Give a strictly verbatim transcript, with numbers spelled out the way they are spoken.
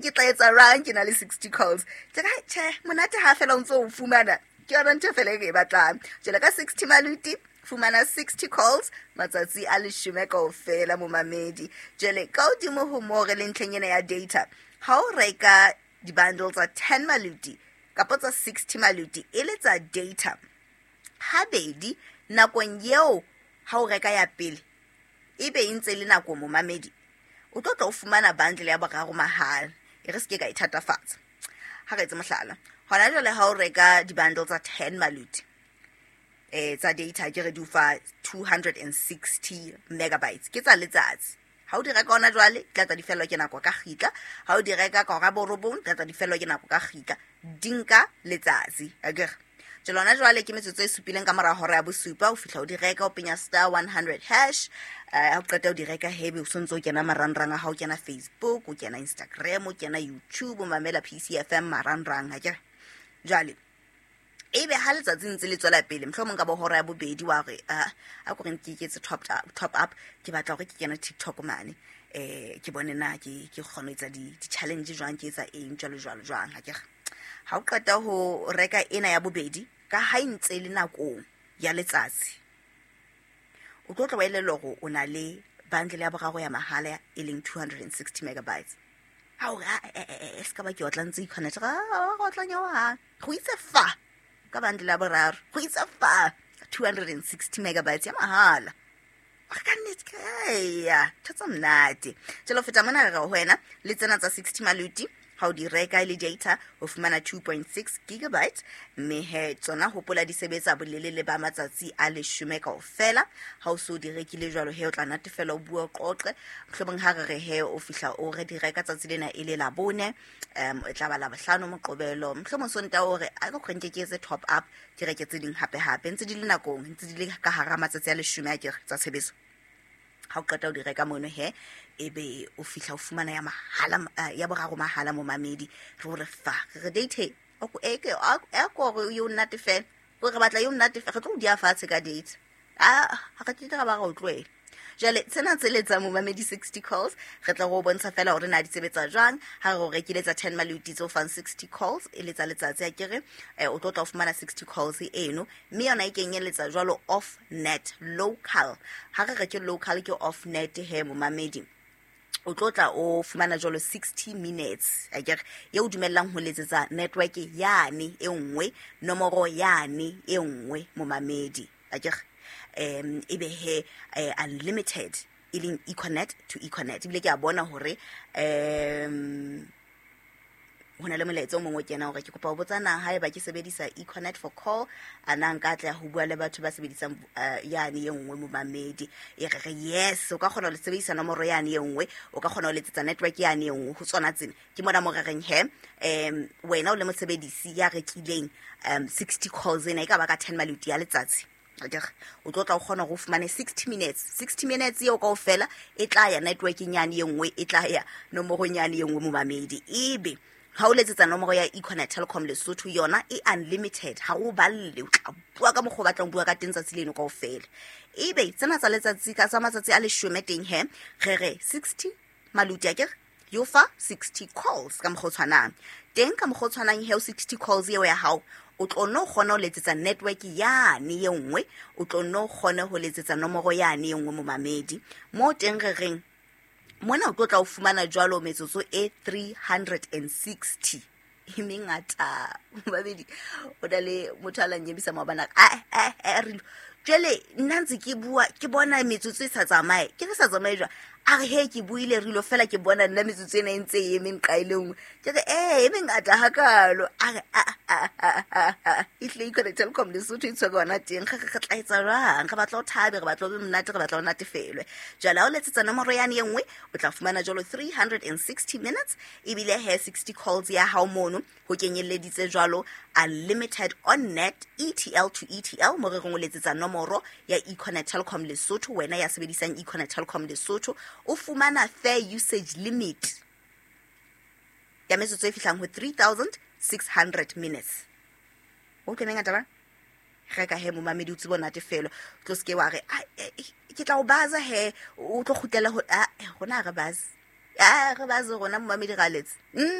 Ke tla etsa rang ke na le sixty calls? Ke ka tjhe, monate ha fela o ntso o fumana. Ke yona ntho fela e re e batlang. Jwale ka sixty maluti, fumana sixty calls matsatsi a leshome kaofela, momamedi. Jwale ka hodimo ho moo, re le ntlheng ena ya data, ha o reka di-bundle tsa ten maluti kapa tsa sixty maluti e le tsa data habedi nakong eo, ha o reka ya pele ebe e ntse e le nako, momamedi, o tlo tla o fumana bundle ya boraro mahala. E re se ke ka e thatafatsa, ha re etse mohlala. Hona jwale ha o reka di-bundle tsa ten maluti eh tsa data, ke re di o fa two hundred and sixty megabytes, ke tsa letsatsi. Ha o di reka hona jwale, di tla tla di fellwa ke nako ka kgitla. Ha o di reka ka hora borobong, di tla tla di fellwa ke nako ka kgitla. Di nka letsatsi, akere? Jwale hona jwale ke metsotso e supileng ka mora hora ya bosupa. O fihla o di reka, o penya star one hundred hash. Ha o qeta o di reka, hebe o sontso o kena marangrang a hao, o kena Facebook, o kena Instagram, o kena YouTube, o mamela P C F M marangrang, akere? Jwale ebe ha letsatsi ntse le tswela pele, mohlomong ka bo hora ya bobedi wa re, ah, a ko re ke iketse top up, top up, ke batla hore ke kene TikTok mane, eh, ke bone na ke, ke kgona ho etsa di, di-challenge jwang, ke etsa eng, jwalo, jwalo, jwang, ha ke re. Ha o qeta ho reka ena ya bobedi, ka ha e ntse le nakong ya letsatsi, o tlo tla wa elellwa hore o na le bundle ya boraro ya mahala e leng two hundred and sixty megabytes. Ha o re, ah, eh, eh, eh, se ka ba ke otla ntse Econet, ah, go otla nyawa ha. Go itse fa ka bundle ya boraro, go itse fa two hundred and sixty megabytes ya mahala. Re ka nnete ke, eya, ntho tsa monate. Jwale ho feta mona re re ho wena, le tsena tsa sixty maluti, ha o di reka e le data, o fumana two point six gigabytes. Mme he, tsona hopola di sebetsa bolelele ba matsatsi a leshome kaofela. Ha o so di rekile jwalo he, o tla natefela, o bua, o qoqe. Mohlomong ha re re he, o fihla o re di reka tsatsi lena e le Labone, um, e tla ba Labohlano, Moqebelo. Mohlomong Sontaha o re, a ke kgone ke etse top up, ke reke tse ding hape hape. Ntse di le nakong, ntse di le ka hara matsatsi a leshome a ke re tsa tshebetso. Ha o qeta o di reka mono he, ebe o fihla o fumana ya mahala, eh, ya boraro mahala, momamedi. Re o re fa, re re date, o ko, e ke, a, a ko re yo nnate fela. Ko re batla yo nnate fela, re tlo o dia fatshe ka date. Ah, ha re tle ra ba ra o tlohela. Jwale tsena tse letsang, momamedi, sixty calls, re tla go bontsha fela hore na di sebetsa jwang. Ha re o rekile tsa ten maluti tse o fang sixty calls e letsa letsatsi, a kere, eh, o tlo tla o fumana sixty calls eno, mme yona e kenyeletsa jwalo off net local. Ha re re ke local, ke off net he, momamedi. O tlo tla o fumana jwalo sixty minutes, akere, eo dumellang ho letsetsa network yane e nngwe, nomoro yane e nngwe, momamedi, akere. Em, ebe he, eh, unlimited e leng Econet to Econet. Ebile ke a bona hore, em, ho na le molaetsa o mongwe o kenang hore ke kopa ho botsa na haeba ke sebedisa Econet for call, a na nka atleha ho bua le batho ba sebedisang, eh, yane e nngwe, momamedi. E re re yes, o ka kgona ho sebedisa nomoro yane e nngwe, o ka kgona ho letsetsa network yane e nngwe ho tsona tsena. Ke mona mo re reng he, em, wena o le mosebedisi ya rekileng, em, sixty calls ena, e ka ba ka ten maluti ya letsatsi. Akere, o tlo tla o kgona hore o fumane sixty minutes. sixty minutes eo kaofela e tla ya networking yane e nngwe, e tla ya nomorong yane e nngwe, momamedi. Ebe ha o letsetsa nomoro ya Econet Telkom Lesotho, yona e unlimited, ha o balle, o tla bua ka mokgwa o batlang ho bua ka teng tsatsi leno kaofela. Ebe tsena tsa letsatsi ka tsa matsatsi a leshome teng he, re re sixty maluti, akere, yo fa sixty calls ka mokgwa o tshwanang. Teng ka mokgwa o tshwanang he, o sixty calls eo ya hao, o tlo no kgona ho letsetsa network yane e nngwe, o tlo no kgona ho letsetsa nomoro yane e nngwe, momamedi. Mo teng re reng mona o tlo tla o fumana jwalo metsotso e three hundred and sixty. E mengata, momamedi. O na le motho a la nnyebisa maobane a re, ah, ah, ah, re lo. Jwale nna ntse ke bua, ke bona metsotso e sa tsamaye. Ke re sa tsamaye jwang? A re he, ke buile re lo fela, ke bona nna metsotso ena e ntse e eme nqa e le nngwe. Ke re, eh, e mengata hakalo. A re, ah, ah, ah, ah, ah, ehlile Econet Telkom Lesotho e tshwere hona teng. Re re, re tla etsa jwang? Re batla ho thabe, re batla ho be monate, re batla ho natefelwe. Jwale ha o letsetsa nomoro yane e nngwe, o tla fumana jwalo three hundred and sixty minutes, ebile he sixty calls ya hao mono, ho kenyelleditse jwalo unlimited on net E T L to E T L, mo re reng o letsetsa nomoro ya Econet Telkom Lesotho, wena ya sebedisang Econet Telkom Lesotho, o fumana fair usage limit ya metsotso e fihlang ho three thousand six hundred minutes. O utlwe mengata ba? Reka he, momamedi, o tsebe ho natefelwa. O tlo se ke wa re, ah, eh, eh, ke tla o baza he, o tlo kgutlela ho, ah, eh, rona ha re baze. A re baze rona momamedi ga letse.